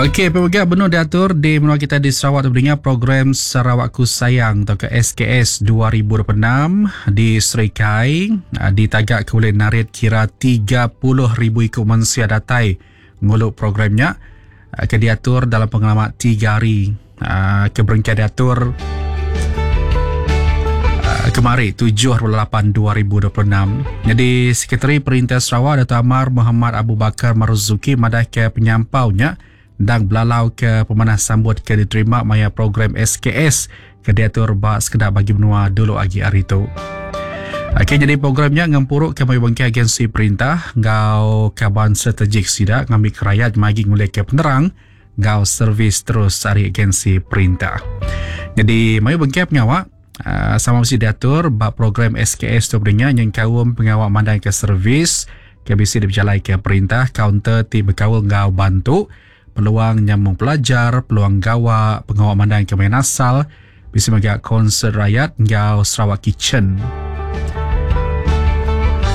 Okey, pemega benung diatur di menua kita di Sarawak tu beringat program Sarawakku Sayang atau ke SKS 2026 di Serikai ah, ditagak ke ulih narit kira 30,000 iku mensia datai ngulu programnya ah, ke diatur dalam pengelama 3 hari ah, ke berengkah diatur kemari 7 8 2026. Jadi Sekretari Perintah Sarawak Dato Amar Muhammad Abu Bakar Marzuki madah ke penyampaunya endang belalau ke pemanah sambut ke diterima maya program SKS ke diatur ba sekeda bagi menua dulu agi hari tu. Okey, jadi programnya ngempuru ke mayuh bengkah agensi perintah enggau kaban strategik sida ngambi ke rayat magi ngulih ke penerang enggau servis terus ari agensi perintah. Jadi mayuh bengkah pengawa uh, sama mesti diatur ba program SKS tu berinya nyengkaum pengawa mandang ke servis ke bisi dipejalai ke perintah kaunter ti bekaul enggau bantu peluang nyambung pelajar, peluang gawa, pengawa mandang ke main asal, bisi mega konsert rakyat enggau Sarawak Kitchen.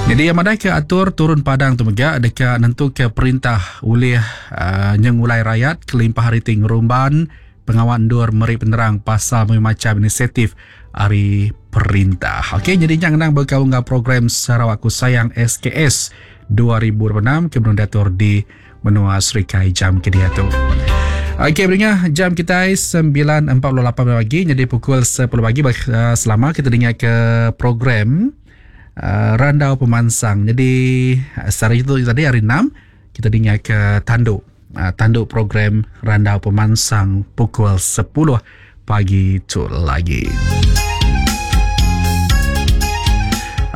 Jadi yang madai ke atur turun padang tu mega deka nentu ke perintah ulih uh, nyengulai rakyat kelimpah hari ti ngerumban pengawa endur meri penerang pasal macam inisiatif ari perintah. Okey, jadi nya ngenang bekaul enggau program Sarawakku Sayang SKS 2026 ke benung diatur di menua Serikai jam ke diatu. Okey, beringat jam kita 9.48 pagi jadi pukul 10 pagi eh, selama kita dengar ke program uh, Randau Pemansang. Jadi eh, sehari itu tadi hari 6 kita dengar ke tanduk uh, tanduk program Randau Pemansang pukul 10 pagi tu lagi.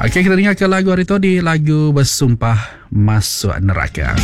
Okey, kita dengar ke lagu hari tu di lagu Bersumpah Masuk Neraka.